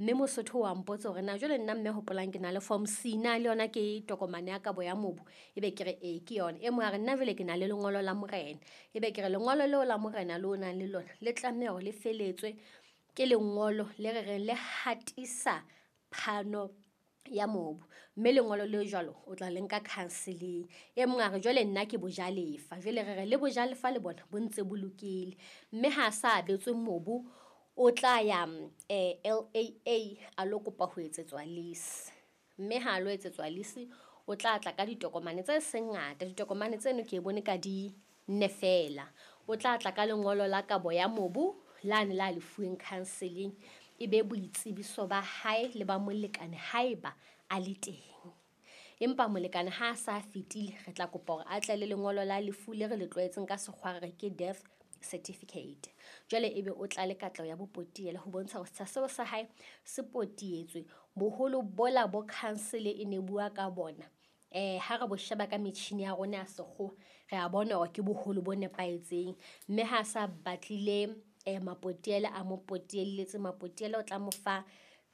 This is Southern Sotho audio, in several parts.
Mme Mosotho wa mpotsa hore na jwale nna mme hopolang ke na le form C, na le yona ke tokomane ya kabo ya mobu? Ebe ke re ee ke yona. E mong a re nna jwale ke na le lengolo la morena, ebe ke re lengolo leo la morena leo o nang le lona le tlameha hore le feletswe ke lengolo le re reng le hatisa phano ya mobu, mme lengolo le jwalo o tla le nka council-eng. E mong a re jwale nna ke bojalefa, jwale re re le bojalefa le bona bo ntse bo lokile, mme ha sa abetswe mobu o tla ya LAA a lo kopa ho etsetswa lease, mme ha lo etsetswa lease o tla tla ka ditokomane tse seng ngata. Ditokomane tseno ke bone ka di nne feela, o tla tla ka lengolo la kabo ya mobu lane la lefuweng council-eng, e be boitsebiso ba hae le ba molekane haeba a le teng. Empa molekane ha a sa fetile, re tla kopa hore a tle le lengolo la lefu le re le tlwaetseng ka sekgowa re re ke death certificate. Jwale ebe o tla le katleho ya bopotiela ho bontsha hore setsha seo sa hae se potietswe. Boholo bola bo council e ne bua ka bona, ha re bo sheba ka metjhini ya rona ya sekgowa, re a bona hore ke boholo bo nepahetseng, mme ha sa batlile mapotiela a mo potielletse, mapotiela o tla mo fa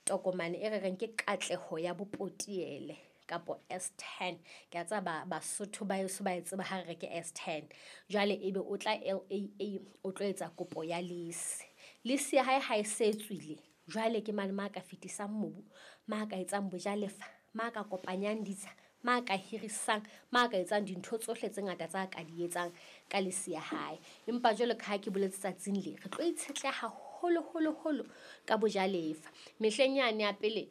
tokomane e re reng ke katleho ya bopotiele kapo S10. Ke a tseba Basotho ba heso ba e tseba ha re re ke S10. Jwale ebe o tla LAA o tlo etsa kopo ya lease. Lease ya hae ha e se tswile, jwale ke mane ma ka fetisang mobu, ma ka etsang bojalefa, ma ka kopanyang ditsha, ma ka hirisang, ma ka etsang dintho tsohle tse ngata tsa ka di etsang ka lease ya hae. Empa jwalo ka ha ke boletse tsatsing le, re tlo itshetleha haholo holo holo ka bojalefa. Mehleng yane ya pele,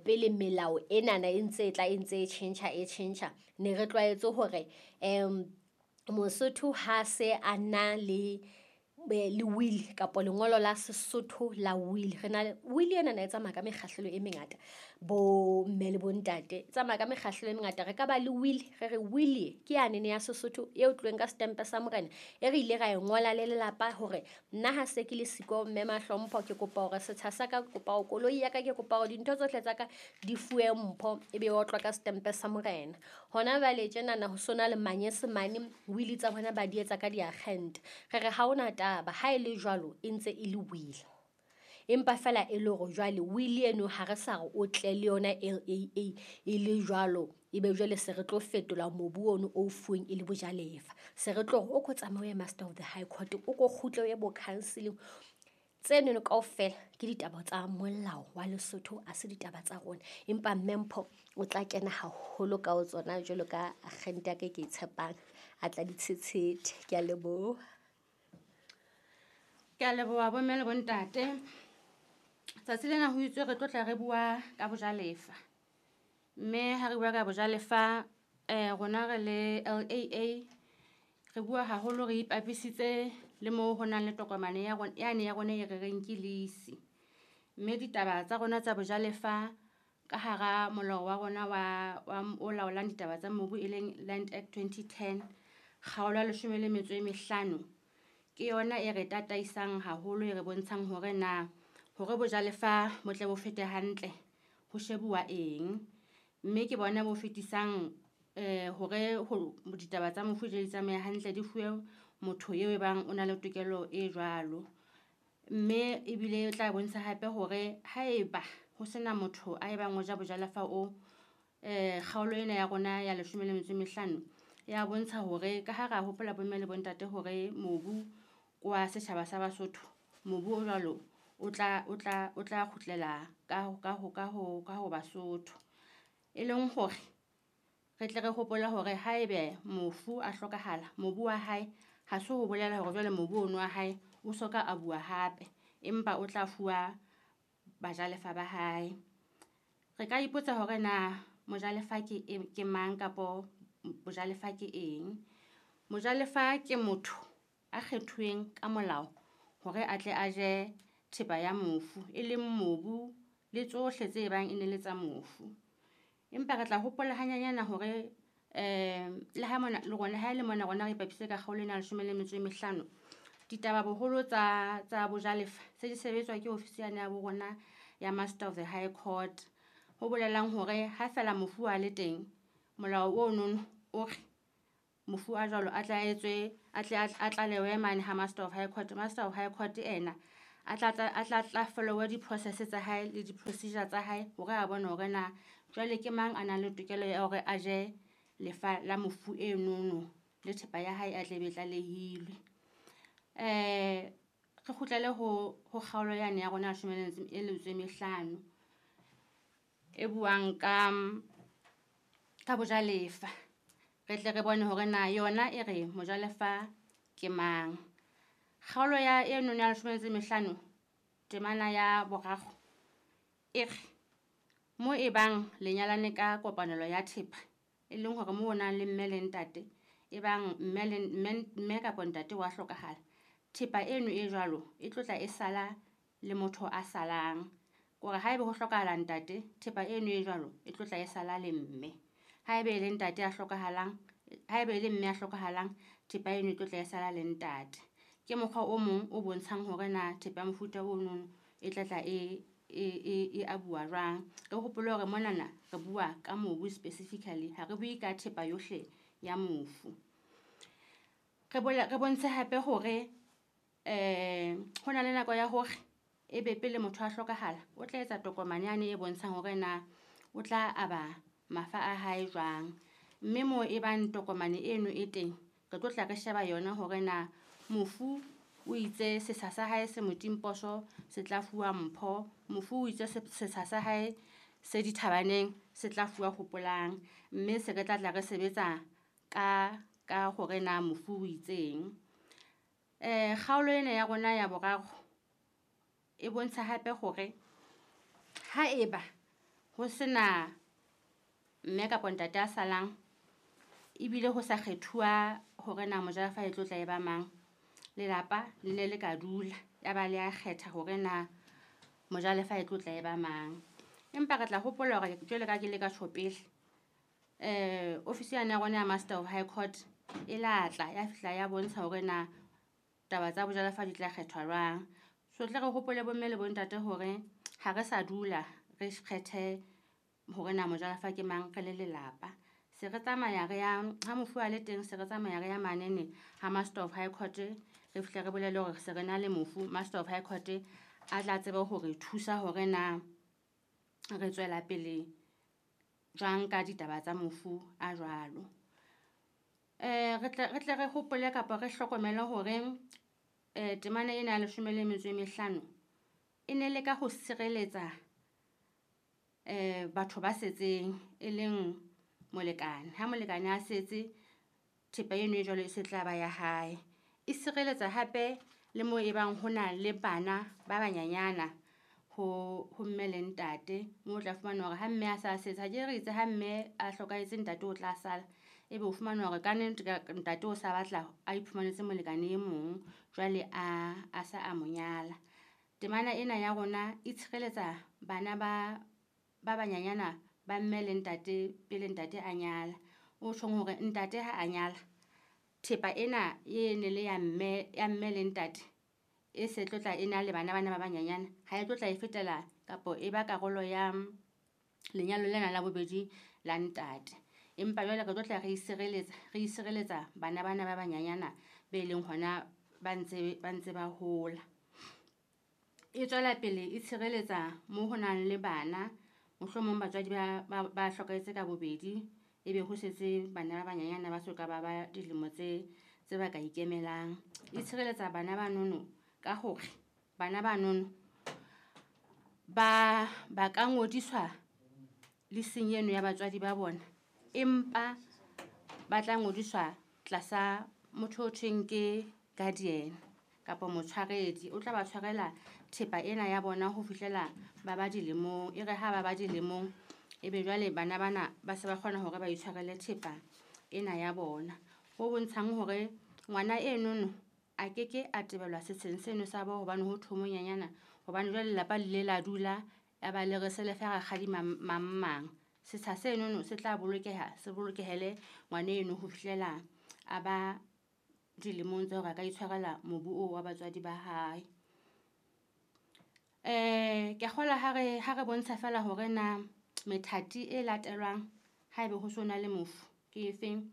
pele melao enana e ntse e tla e ntse e tjhentjha e tjhentjha, ne re tlwaetse hore Mosotho ha se a na le le will kapa lengolo la Sesotho la will. Re na will ena na e tsamaya ka mekgahlelo e mengata, bo mme le bo ntate, e tsamaya ka mekgahlelo e mengata. Re ka ba le will, re re will ke yanene ya Sesotho e tloheng ka setempe sa morena, e re ile ra e ngola le lelapa hore nna ha se ke le siko mme Mahlompho, ke kopa hore setsha sa ka, ke kopa hore koloi ya ka, ke kopa hore dintho tsohle tsa ka di fuwe mpho, ebe e otlwa ka setempe sa morena. Hona jwale tjenana ho sona le manyesemane, will tsa bona ba di etsa ka diakgente. Re re ha hona taba, ha e le jwalo e ntse e le will, empa feela e le hore jwale will eno ha re sa re o tle le yona LAA e le jwalo, ebe jwale se re tlo fetola mobu ono o fuweng e le bojalefa. Se re tlo hore o ko tsamaye o ye Master of the High Court, o ko kgutle o ye bo council-eng. Tsenono kaofela ke ditaba tsa molao wa Lesotho, ha se ditaba tsa rona. Empa mme Mpho o tla kena haholo ka ho tsona jwalo ka akgente ya ka e ke e tshepang, a tla di tshetshete. Ke a leboha. Ke a leboha bomme le bontate. Tsatsi lena ho itswe re tlo tla re bua ka bojalefa. Mme ha re bua ka bojalefa, rona re le LAA re bua haholo re ipapisitse le moo ho nang le tokomane ya rona, yane ya rona e re reng ke lease. Mme ditaba tsa rona tsa bojalefa ka hara molao wa rona wa o laolang ditaba tsa mobu e leng Land Act 2010, kgaolo ya leshome le metso e mehlano, ke yona e re tataisang haholo, e re bontshang hore na hore bojalefa bo tle bo fete hantle ho shebuwa eng. Mme ke bona bo fetisang hore ho ditaba tsa mofu di tsamaye hantle, di fuwe motho eo e bang o na le tokelo e jwalo. Mme ebile e tla bontsha hape hore haeba ho sena motho a ebang o ja bojalefa o, kgaolo ena ya rona ya leshome le metso e mehlano ya bontsha hore ka ha ra hopola bomme le bontate hore mobu kwa setjhaba sa Basotho, mobu o jwalo o tla kgutlela ka ho Basotho. E leng hore re tle re hopole hore haebe mofu a hlokahala, mobu wa hae ha se ho bolela hore jwale mobu ono wa hae o soka a bua hape, empa o tla fuwa bajalefa ba hae. Re ka ipotsa hore na mojalefa ke mang kapo bojalefa ke eng. Mojalefa ke motho a kgethuweng ka molao hore a tle a je thepa ya mofu, e leng mobu le tsohle tse bang e ne le tsa mofu. Empa re tla hopola hanyanyana hore le ha mona, le rona, ha e le mona rona re ipapisitse ka kgaolo ena ya leshome le metso e mehlano, ditaba boholo tsa bojalefa se di sebetswa ke ofisi yane ya bo rona ya Master of the High Court. Ho bolelang hore ha feela mofu a le teng, molao ono o re mofu a jwalo a tla etswe, a tle a tlalewe mane ha Master of High Court. Master of High Court ena A tla follow-a di-process tsa hae le di-procedure tsa hae hore a bone hore na jwale ke mang a nang le tokelo ya hore a je lefa la mofu enono le thepa ya hae a tle be tlalehilwe. Re kgutlele ho kgaolo yane ya rona ya leshome le metso e mehlano e buang ka bojalefa. Re tle re bone hore na yona e re mojalefa ke mang. Kgaolo ya eno ya leshome le metso e mehlano temana ya boraro e re mo e bang le nyalane ka kopanelo ya thepa, e leng hore mo o nang le mme le ntate, e bang mme kapa ntate wa hlokahala, thepa eno e jwalo e tlo tla e sala le motho a salang. Kore haebe ho hlokahala ntate, thepa eno e jwalo e tlo tla e sala le mme. Haebe e le ntate a hlokahalang, haebe e le mme a hlokahalang, thepa eno e tlo tla e sala le ntate. Ke mokgwa o mong o bontshang hore na thepa ya mofuta ono e tla tla e abuwa jwang. Re hopole hore monana re bua ka mobu specifically, ha re bue ka thepa yohle ya mofu. Re bontshe hape hore ho na le nako ya hore ebe pele motho a hlokahala, o tla etsa tokomane yane e bontshang hore na o tla aba mafa a hae jwang. Mme moo e bang tokomane eno e teng, re tlo tla re sheba yona hore na mofu o itse setsha sa hae se motimposo se tla fuwa mpho, mofu o itse setsha sa hae se dithabaneng se tla fuwa Hopolang. Mme se re tla tla re sebetsa ka hore na mofu o itseng. Kgaolo ena ya rona ya boraro e bontsha hape hore haeba ho sena mme kapa ntate a salang, ebile ho sa kgethuwa hore na mojalefa e tlo tla e ba mang, lelapa le ne le ka dula ya ba le a kgetha hore na mojalefa e tlo tla e ba mang. Empa re tla hopola hore jwalo ka ke le ka tjho pele, ofisi yane ya rona ya Master of High Court e la tla ya fihla ya bontsha hore na taba tsa bojalefa di tla kgethwa jwang. So tle re hopole bomme le bontate hore ha re sa dula re kgethe hore na mojalefa ke mang re le lelapa. Se re tsamaya re ya ha mofu a le teng, se re tsamaya re ya manene ha Master of High Court, re fihle re bolele hore se re na le mofu. Master of High Court a tla tsebe hore thusa hore na re tswela pele jwang ka ditaba tsa mofu a jwalo. Re tle re hopole kapa re hlokomele hore temana ena ya leshome le metso e mehlano e ne le ka ho sireletsa batho ba setseng, e leng molekane. Ha molekane a setse, thepa eno e jwalo e se tla ba ya hae. E sireletsa hape le moo e bang ho na le bana ba banyanyana ho mme le ntate, moo o tla fumana hore ha mme a sa setse, ha ke re itse ha mme a hlokahetse ntate o tla sala, ebe o fumana hore ka nnete ntate o sa batla a iphumanetse molekane e mong, jwale a sa a mo nyala. Temana ena ya rona e tshireletsa bana ba banyanyana ba mme le ntate pele ntate a nyala. O tjhong hore ntate ha a nyala, thepa ena e ne le ya mme le ntate e se tlo tla e na le bana bana ba banyanyana, ha e tlo tla e fetela kapo e ba karolo ya lenyalo lena la bobedi la ntate. Empa jwale re tlo tla re isireletsa bana bana ba banyanyana be leng hona ba ntse ba hola. E tswela pele e tshireletsa mo ho nang le bana, mohlomong batswadi ba hlokahetse ka bobedi, ebe ho setse bana ba banyanyana ba soka ba ba dilemo tse ba ka ikemelang. E tshireletsa bana ba nono ka hore bana ba nono ba ka ngodiswa leasing eno ya batswadi ba bona, empa ba tla ngodiswa tlasa motho o thweng ke guardian kapa motshwaredi. O tla ba tshwarela thepa ena ya bona ho fihlela ba ba dilemong. E re ha ba ba dilemong, ebe jwale bana bana ba se ba kgona hore ba itshwarele thepa ena ya bona. Ho bontshang hore ngwana enono a keke a tebelwa setsheng seno sa bo hobane ho thwe monyanyana, hobane jwale lelapa le ile la dula ya ba le re se le fe rakgadi mang mang. Setsha senono se tla bolokeha, se bolokehele ngwana eno ho fihlela a ba dilemong tsa hore a ka itshwarela mobu oo wa batswadi ba hae. Ke kgolwa ha re bontsha feela hore na methati e latelwang haebe ho so na le mofu ke efeng,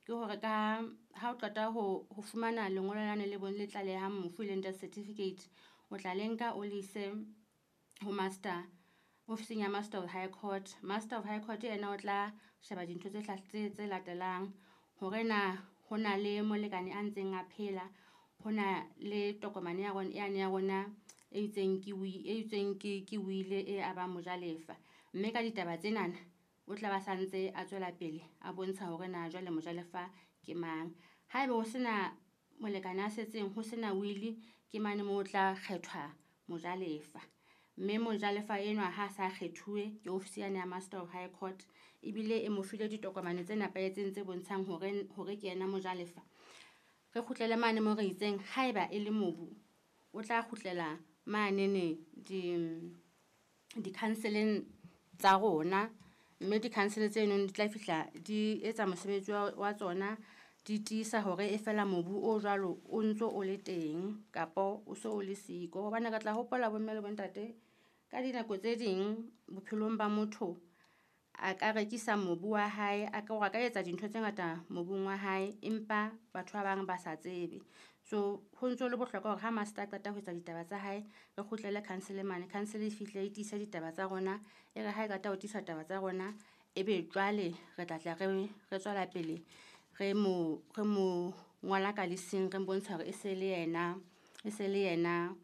ke hore ka ha o qeta ho fumana lengolo lane le le tlalehang mofu, e leng death certificate, O tla le nka o le ise ho master, ofising ya Master of High Court. Master of High Court ena o tla sheba dintho tse latelang, hore na ho na le molekane a ntseng a phela, ho na le tokomane ya rona yane ya rona e itseng ke e itsweng ke wile e abang mojalefa. Mme ka ditaba tsenana o tla ba santse a tswela pele a bontsha hore na jwale mojalefa ke mang. Haeba ho sena molekane a setseng, ho sena wili, ke mane moo o tla kgethwa mojalefa. Mme mojalefa enwa ha sa kgethuwe ke ofisi yane ya Master of High Court, ebile e mo file ditokomane tse nepahetseng tse bontshang hore ke yena mojalefa. Re kgutlele mane mo re itseng haeba e le mobu, o tla kgutlela manene di-council-eng tsa rona, mme di-council tseno di tla fihla di etsa mosebetsi wa tsona, di tiisa hore e fela mobu o jwalo o ntso o le teng kapo o so o le siko. Hobane re tla hopola bomme le bontate, ka dinako tse ding bophelong ba motho a ka rekisa mobu wa hae, a ka a ka etsa dintho tse ngata mobung wa hae, empa batho ba bang ba sa tsebe. So ho ntso le bohlokwa hore ha master a qeta ho etsa ditaba tsa hae, re kgutlele council mane. Council e fihle e tiise ditaba tsa rona, e re ha e qeta ho tiisa taba tsa rona, ebe jwale re tla tla re tswela pele re mo ngola ka lising, re bontsha hore e se le yena, e se le yena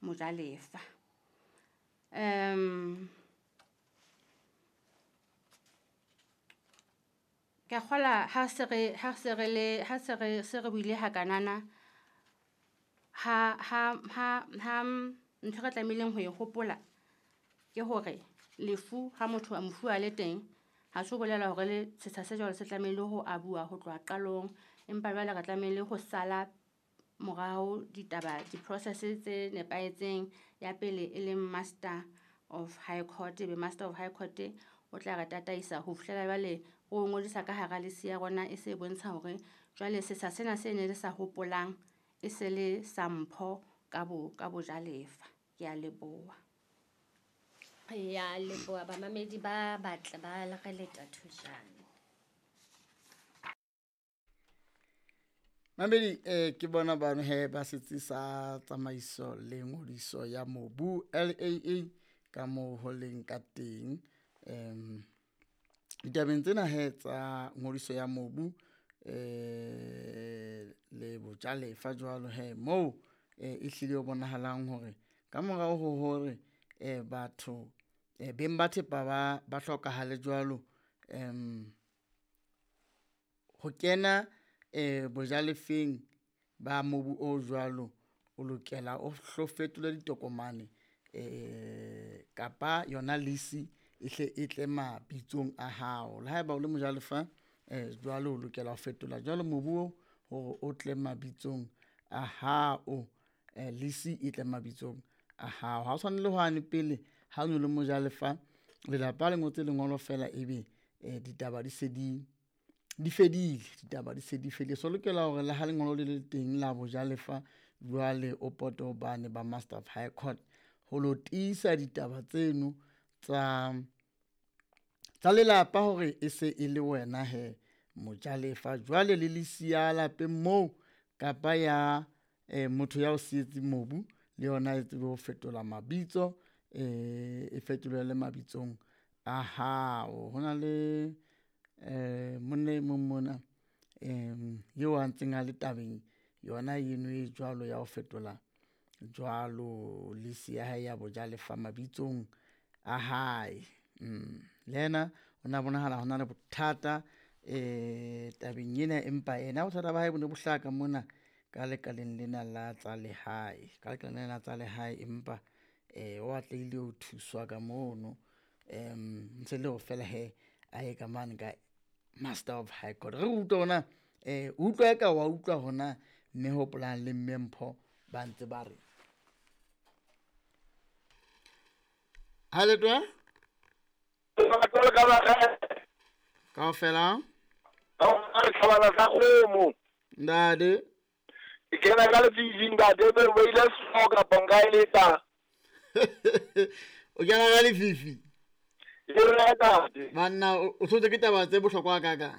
mojalefa. Ke a kgola ha se re ha se re le ha se re se re buile hakanana, ha ntho re tlamehileng ho e hopola ke hore lefu ha motho a mofu a le teng, ha se ho bolela hore le setsha se jwalo se tlamehile ho abuwa ho tloha qalong, empa jwale re tlamehile ho sala morao ditaba, di-process tse nepahetseng. Ya pele e leng Master of High Court, ebe Master of High Court o tla re tataisa ho fihlela jwale o ngodisa ka hara lisi ya rona, e se bontsha hore jwale setsha sena se ne le sa hopolang e se le sa mpho ka bojalefa. Ke a leboha. Ya leboha bamamedi ba batle ba re leta thujane. Mamedi, ke bona bano he ba setsi sa tsamaiso le ngodiso ya mobu LAA ka moo ho leng ka teng. Ditabeng tsena he tsa ngodiso ya mobu le bojalefa jwalo he moo e hlile ho bonahalang hore ka morao ho hore batho beng ba thepa ba hlokahale jwalo, ho kena bojalefeng ba mobu o jwalo, o lokela o hlo fetole ditokomane kapa yona lease e hle e tle mabitsong a hao. Le haeba o le mojalefa jwalo o lokela ho fetola jwalo mobu oo hore o tle mabitsong a hao, lease e tle mabitsong a hao. Ha o tshwane le hwane pele ha o no le mojalefa, lelapa le ngotse lengolo fela ebe ditaba di se di fedile, ditaba di se di fedile. So lokela hore le ha lengolo le le teng la bojalefa jwale o pote hobane ba Master of High Court ho lo tiisa ditaba tseno tsa lelapa hore e se e le wena he mojalefa. Jwale le lease ya lapeng moo kapa ya motho ya o sietseng mobu le yona e tsebe ho fetola mabitso, e fetolele mabitsong a hao. Ho na le monna e mong mona eo a ntseng a le tabeng yona eno e jwalo ya ho fetola jwalo lease ya hae ya bojalefa mabitsong a hae. Le yena o na bonahala ho na le bothata tabeng ena, empa yena bothata ba hae bo ne bo hlaha ka mona ka lekaleng lena la tsa lehae, ka lekaleng lena la tsa lehae, empa o atlehile ho thuswa ka mono. Ntse le hore fela he a ye ka mane ka Master of High Court. Re utlwe hona utlwa eka wa utlwa hona mme Hopolang le mme Mpho ba ntse ba re. Ha le twa? Kaofela? Ntate. Ke kena ka lefifi ntate, be o ile snow kapa nka e letsa. O kena ka lefifi? Ntate. Banna o tshotse ke taba tse bohlokwa ka ka.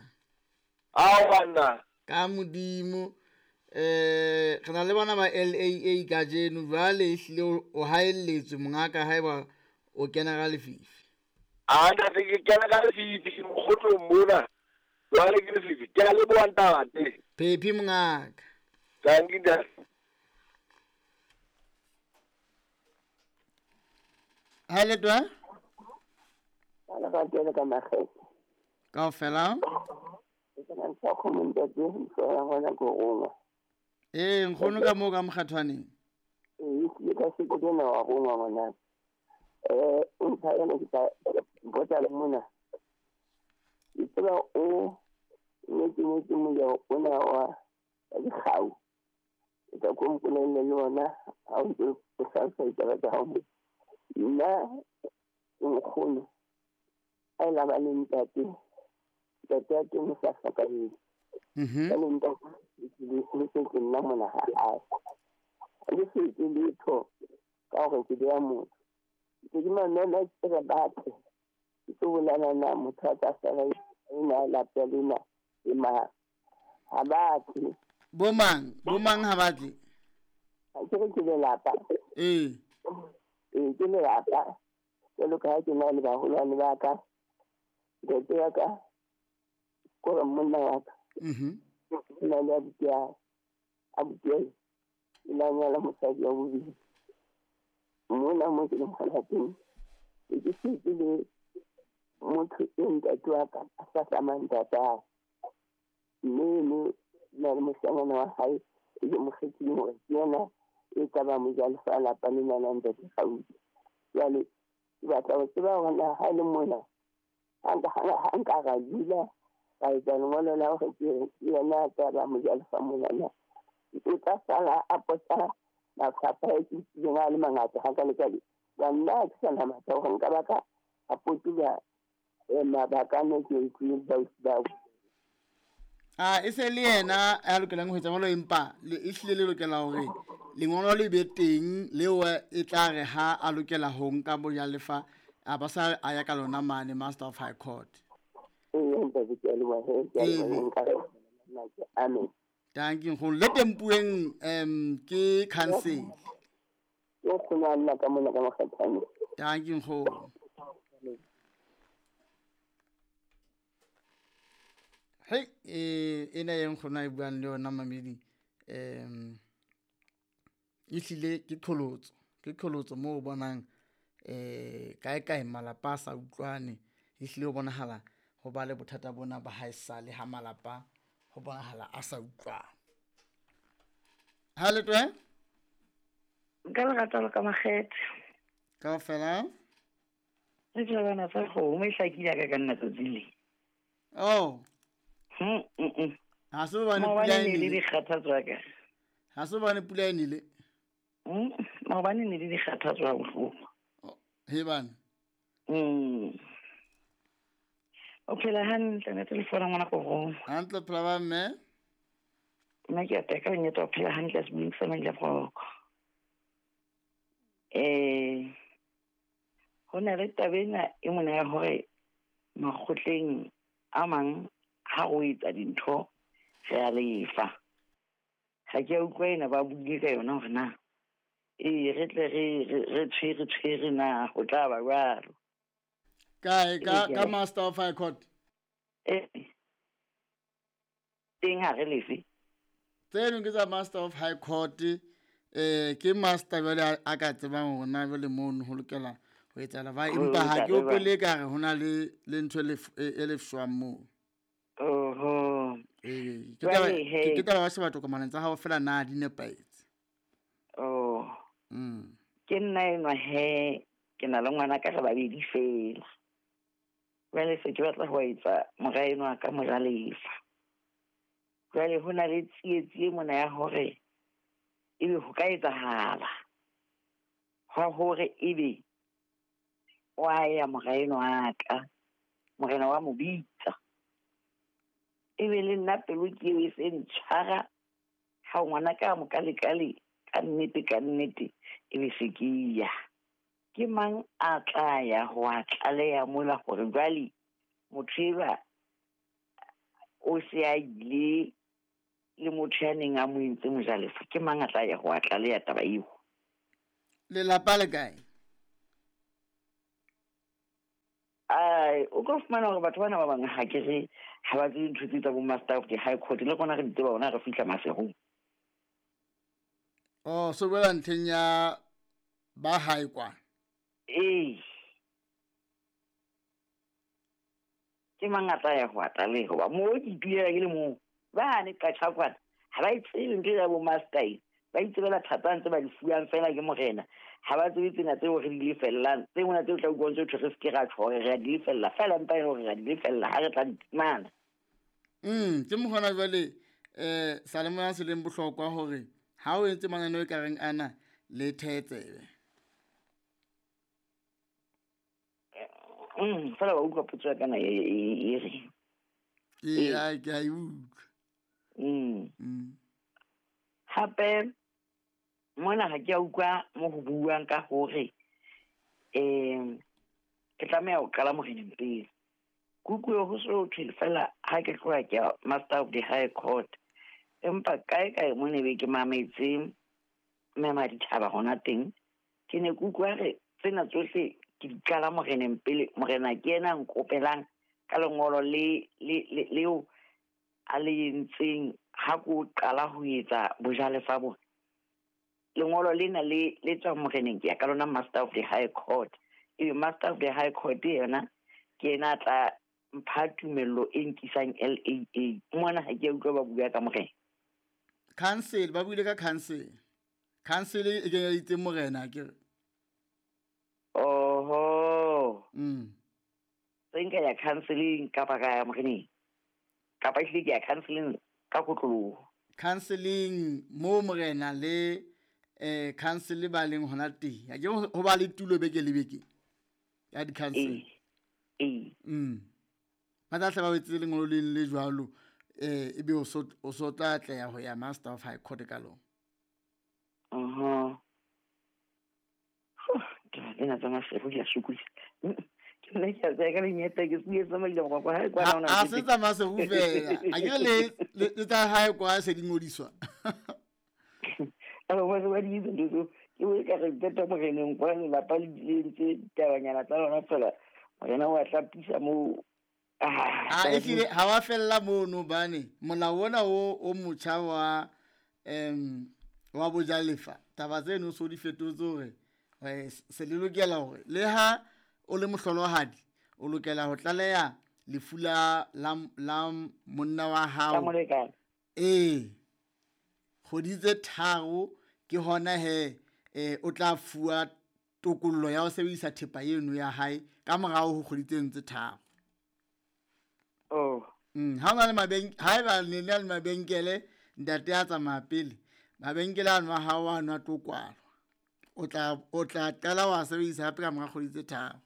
Ao banna. Ka Modimo. Re na le bana ba LAA kajeno jwale ehlile o haelletswe mongaka haeba o kena ka lefifi. A ntate ke kena ka lefifi ke mokgotlong mona. Jwale ke lefifi. Ke a leboha ntate. Phephi mongaka. Thank you ntate. Ha le twa? Ana ba tele ka makgethe. Kaofela? Ke na ntho kgomo ntate, ntho ya ngwana ko rongwa. Ee, nkgono ka moo ka mokgathwaneng. Ee, ke ka se ke na wa rongwa ngwana. Ntlha ena ke tla botsa le mona. Ke tseba o ne ke moja ona wa dikgau. Ke tla ko mpolelle le ona ha o ntse o hlalosa ditaba tsa hao. Nna nkgono a ile ba le ntate. Ntate wa teng o sa hlokahetse. Ka le ntate le se ke nna mona ha hae. Le se ke letho ka hore ke beya motho. Ke di mamela ke re batle. Ke tlo bolana na motho a tla sala ena lapa lena e mang. Ha batle. Bomang? Bomang ha batle? Ha ke re ke lelapa. Ee. Ee, ke lelapa. Jwalo ka ha ke na le baholwane ba ka. Ntate wa ka kore monna wa ka. O na le abuti ya abuti ya o la nyala mosadi wa bobedi. Mona mo ke leng hona teng. Ke setse le motho e ntate wa ka a sa hlamang ntatae. Mme eno na le moshanyana wa hae e ke mo kgethileng hore ke yena e tla ba mojalefa a lapa lena la ntate Kgauta. Jwale ke batla ho tseba hore na ha e le mona ha nka ra dula ka etsa lengolo la hore ke yena a tla ba mojalefa monana. O tla sala a pota mafapha e ke utlwileng a le mangata hakale-kale. Jwale nna ha ke sa na matla hore nka ba ka a potula mabaka a ne ke utlwileng ba A e se le yena a lokelang ho etsa jwalo, empa le ehlile le lokela hore lengolo le be teng leo e tla re ha a lokela ho nka bojalefa a ba sa a ya ka lona mane Master of High Court. Ee, ntate, ke a leboha he, ke a leboha, nka re amen. Thank you nkgono. Le tempueng ke council. Ke nkgono a nna ka mona ka mokgathwane. Thank you nkgono. Hei, ena e nkgono a e buang le yona mamedi, ehlile ke qholotso, ke qholotso moo o bonang kae kae malapa a sa utlwane, ehlile ho bonahala ho ba le bothata bona ba haesale ha malapa ho bonahala a sa utlwane. Ha le twe? Nka lerato le ka makgethe. Kaofela? Le tjhabana tsa kgomo e hlakile ka ka nna tsatsi le. Oh. Ha se hobane pula e nele nele. Dikgathatso ya ka. Ha se hobane pula e nele. Maobane ne le dikgathatso ha bohloko. He bana. O phela hantle ne telefona ngwana ko roma. Hantle phela ba mme. Nna ke a teka nnete o phela hantle sebeng sa Maile Broko. Ho na le taba ena e mona ya hore makgotleng a mang ha o etsa dintho re a lefa. Ha ke a utlwa ena ba buile ka yona hore na ee re tle re tshwere tshwere na ho tla ba jwalo. Kae ka Master of High Court? Teng ha re lefe. Tseno ke tsa Master of High Court, ke master jwale a ka tsebang hore na jwale mono ho lokela ho etsahala ba, empa ha ke hopole ka re hona le ntho e lefshwang moo. Oho. Ee, ke taba ba sheba tokomaneng tsa hao fela na di nepahetse. Oh. Ke nna enwa he, ke na le ngwana ka re babedi fela. Jwale se ke batla ho etsa mora enwa ka mojalefa. Jwale ho na le tsietsi e mona ya hore ebe ho ka etsahala hwa hore ebe wa ya mora enwa ka, morena wa mo bitsa. Ebe le nna pelo ke eo e se ntshwara ha ngwana ka mo kalekale ka nnete ka nnete ebe se ke ya. Ke mang a tla ya ho a tlaleha mola hore jwale motho enwa o se a ile le motho ya neng a mo entse mojalefa, ke mang a tla ya ho a tlaleha taba eo? Lelapa le kae? Ai, o ka fumana hore batho bana ba bang ha ke re ha ba tsebe ntho tse tsa bo Master of the High Court, le rona re di tseba hona re fihla Maseru. Oh, so boela ntlheng ya ba hae kwa. Ee. Ke mang a tla ya ho a tlaleha? Hoba moo ke itulela ke le mong, ba ne qatjha kwana, ha ba e tsebe ntho ya bo master e, ba itsebela thata ntse ba di fuwang fela ke morena. Ha ba tsebe tsena tseo re di lefellang, tse mona tseo tla utlwang tse thwe re se ke ra tjho hore re a di lefella, fela empa e le hore re a di lefella ha re tla di fumana. Ke mokgona jwale salemoya se leng bohlokwa hore ha o entse mananeo e kareng ana le thetsebe. Fela wa utlwa potso ya kana e re. Ee, ke a e utlwa. Hape mona ha ke a utlwa mo ho buang ka hore ke tlameha ho qala moreneng pele. Ke utlwe ho so thwe fela ha ke tloha ke ya Master of the High Court. Empa kae kae mo ne be ke mametse mme Maditjhaba hona teng, ke ne ke utlwa re tsena tsohle ke di qala moreneng pele. Morena ke yena a nkopelang ka lengolo le leo a le entseng ha ko qala ho etsa bojalefa bona. Lengolo lena le tswa moreneng, ke ya ka lona Master of the High Court. Ebe Master of the High Court yena ke yena a tla mpha tumello e nkisang LAA. Mona ha ke a utlwa ba bua ka morena. Council, ba buile ka council. Council e kenyeditse morena ke re. Oho. Se nka ya counseling kapa ka ya moreneng? Kapa ehlile ke ya counseling ka kotloloho? Counseling mo morena le council ba leng hona teng. Ha ke ho ba le tulo beke le beke ya di-council. Ee. Ba tla hle ba etse lengolo le le jwalo, ebe o so tla atleha ho ya Master of High Court ka lona. Tsena tsa Maseru di a sokodisa. Ke nna ke a tsaya ka lenyeta, ke se tsamaile go kwa hae kwana hona A se tsa Maseru fela. A ke le tsa hae kwa se di ngodiswa. A ba ba di itse ntho tseo. Ke o ka re qeta moreneng kwa lelapa le ntse ditabanyana tsa lona fela. Morena o a hlapisa moo. A ehlile ha wa fella mono bane molao ona o motjha wa bojalefa. Taba tseno so di fetotse hore se le lokela hore le ha o le mohlolohadi o lokela ho tlaleha lefu la monna wa hao. Ee, kgwedi tse 3 ke hona he o tla fuwa tokollo ya ho sebedisa thepa eno ya hae ka morao ho kgwedi tseno tse 3. Oh. Ha ona le haeba le na le mabenkele, ntate a tsamaya pele, mabenkele ano a hao a nwa tlo kwalwa. O tla qala wa sebedisa hape ka mora kgwedi tse 3.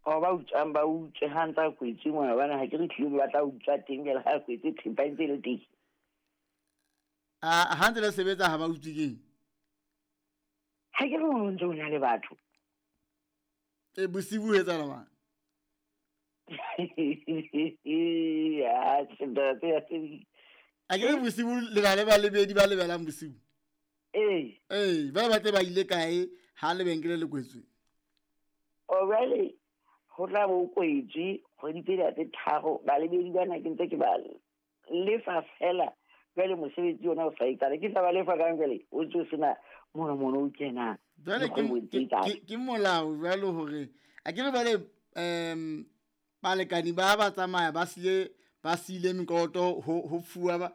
O ba utswang ba utswe ha ntsa kwetse mona, bana ha ke re tlile ba tla utswa teng jwale ha kwetse thepa e ntse le teng. A ha ntse le sebetsa ha ba utswe keng? Ha ke re o ntse o na le batho. E bosibu ho etsahala mang? A ke re bosibu le na le balebedi ba lebelang bosibu. Ee. Ee, ba batle ba ile kae ha lebenkele le kwetswe? O jwale ho tla bo kwetswe kgwedi tse 3, balebedi bana ke ntse ke ba lefa fela. Jwale mosebetsi ona o sa etsala, ke tla ba lefa kang jwale o ntse o sena mono mono o kenang. Jwale ke molao jwale hore a ke re bale balekani ba tsamaya ba siile mekoloto ho fuwa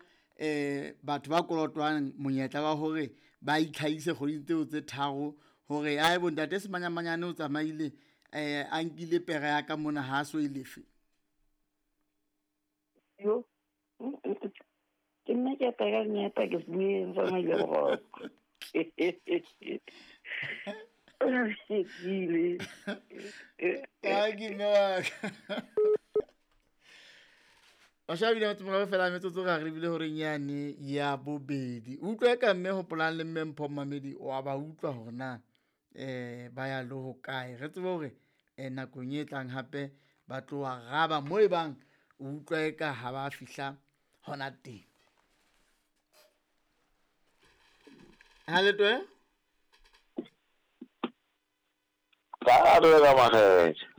batho ba kolotwang monyetla wa hore ba itlhahise kgwedi tseo tse 3 hore ae bo ntate Semanyamanyane o tsamaile a nkile pere ya ka mona ha so e lefe. Yo. Ke nna ke apara lenyata ke se tsamaile boroko. Ai ke mme wa ka. Bashabi ba tsomora fela metsotso ga re bile hore nyane ya bobedi. Utlwe ka mme Hopolang le mme Mpho Mamedi wa ba utlwa hore na ba ya le ho kae. Re tsebe hore nakong e tlang hape ba tloha raba mo e bang o utlwa eka ha ba fihla hona teng. Ha le toe? Ka re ka makgethe.